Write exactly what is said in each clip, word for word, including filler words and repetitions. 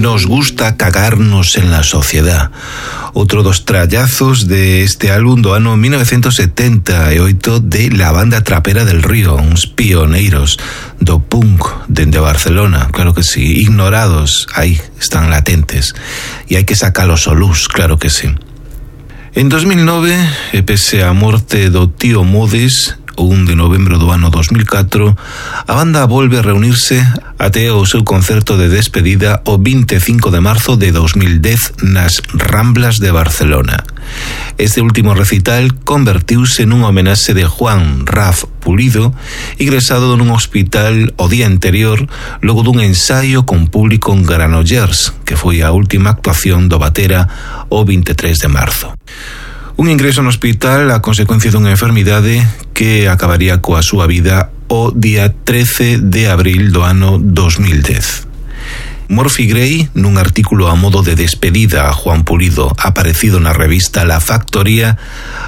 Nos gusta cagarnos en la sociedad. Outro dos trallazos de este álbum do ano mil novecientos setenta e oito de la banda Trapera del Río, uns pioneiros do punk dende Barcelona, claro que sí, ignorados, aí están latentes, e hai que sacalos a luz, claro que sí. En dos mil nove, e pese a morte do tío Modes, o un de novembro do ano dos mil catro, a banda volve a reunirse até o seu concerto de despedida o vinte e cinco de marzo de dos mil dez nas Ramblas de Barcelona. Este último recital convertiuse nun homenaxe de Juan Raf Pulido, ingresado nun hospital o día anterior logo dun ensaio con público en Granollers, que foi a última actuación do batera o vinte e tres de marzo. Un ingreso no hospital a consecuencia dunha enfermidade que acabaría coa súa vida o día trece de abril do ano dos mil dez. Morphy Gray, nun artículo a modo de despedida a Juan Pulido aparecido na revista La Factoría,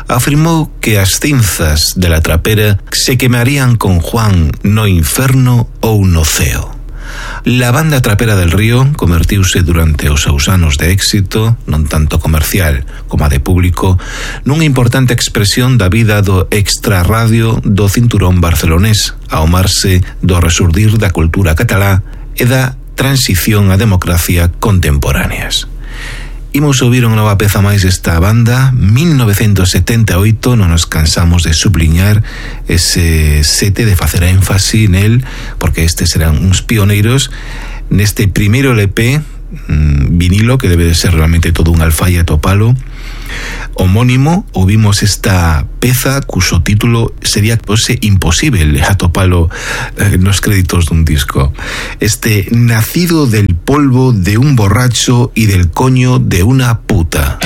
afirmou que as cinzas de la trapera se quemarían con Juan no inferno ou no ceo. La banda Trapera del Río convertiuse durante os seus anos de éxito, non tanto comercial como a de público, nunha importante expresión da vida do extrarradio do cinturón barcelonés, ao marse do resurdir da cultura catalá e da transición á democracia contemporáneas. Imos ouvir unha nova peza máis desta banda, mil novecientos setenta e oito, non nos cansamos de subliñar ese sete, de facer énfasi nel, porque estes serán uns pioneiros neste primeiro L P mmm, vinilo, que debe de ser realmente todo un alfaia topalo, homónimo. Ouvimos esta peza cuso título sería pose imposible atopalo eh, nos créditos dun disco. Este nacido del polvo de un borracho y del coño de una puta.